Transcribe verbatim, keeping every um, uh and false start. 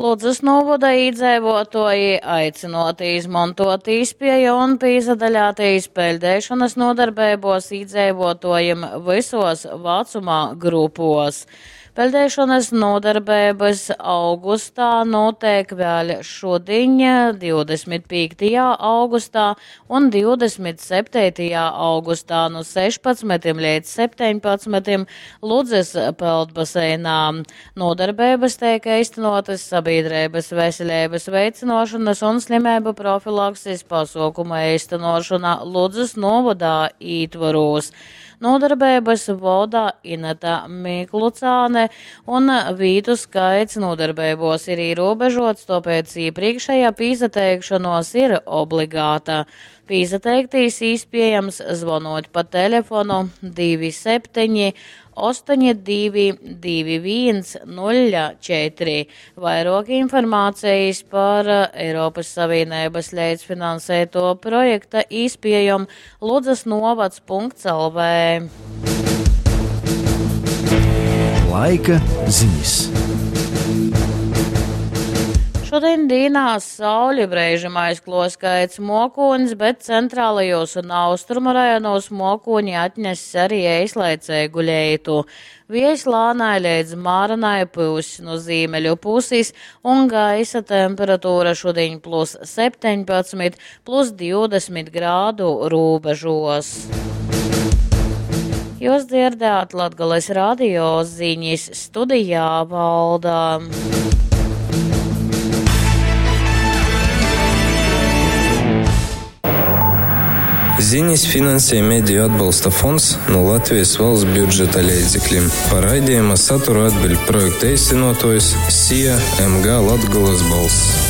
Ludzas novada iedzīvotāji aicināti izmantot īspēju un pīzadaļāties peļdēšanas nodarbībos iedzīvotājiem visos vecuma grupos. Peldēšanas nodarbības augustā notiek vēl šodien, divdesmit piektajā augustā un divdesmit septītajā augustā no sešpadsmitiem līdz septiņpadsmitiem Ludzas peldbaseinā. Nodarbības tiek īstenotas sabiedrības veselības veicināšanas un slimību profilakses pasākuma īstenošana Ludzas novadā ītvaros. Nodarbības voda Ineta Miklucāne un vītu skaits nodarbībos ir ierobežots, tāpēc iepriekšējā pīzateikšanos ir obligāta. Pīzateiktīs iespējams zvonot pa telefonu divi septiņi astoņi divi divi viens nulle četri. Vairāk informācijas par Eiropas Savienības līdzfinansēto projekta īspējam Ludzas novads punkts L V. Laika ziņas. Šodien dīnā sauli brēžam aizklos kaits mokūnis, bet centrālajos un austrumu rajonos mokūņi atness arī eislaicēgu leitu. Viejs lānai līdz māranai pūs no zīmeļu puses un gaisa temperatūra šodien plus septiņpadsmit, plus divdesmit grādu robežos. Jūs dzirdējāt Latgales radio ziņas studijā Valda. Ziņas finansē Mediju atbalsta fonds no Latvijas valsts budžeta līdzekļiem. Par raidījuma saturu atbild projekta īstenotājs S I A M G Latgales balss.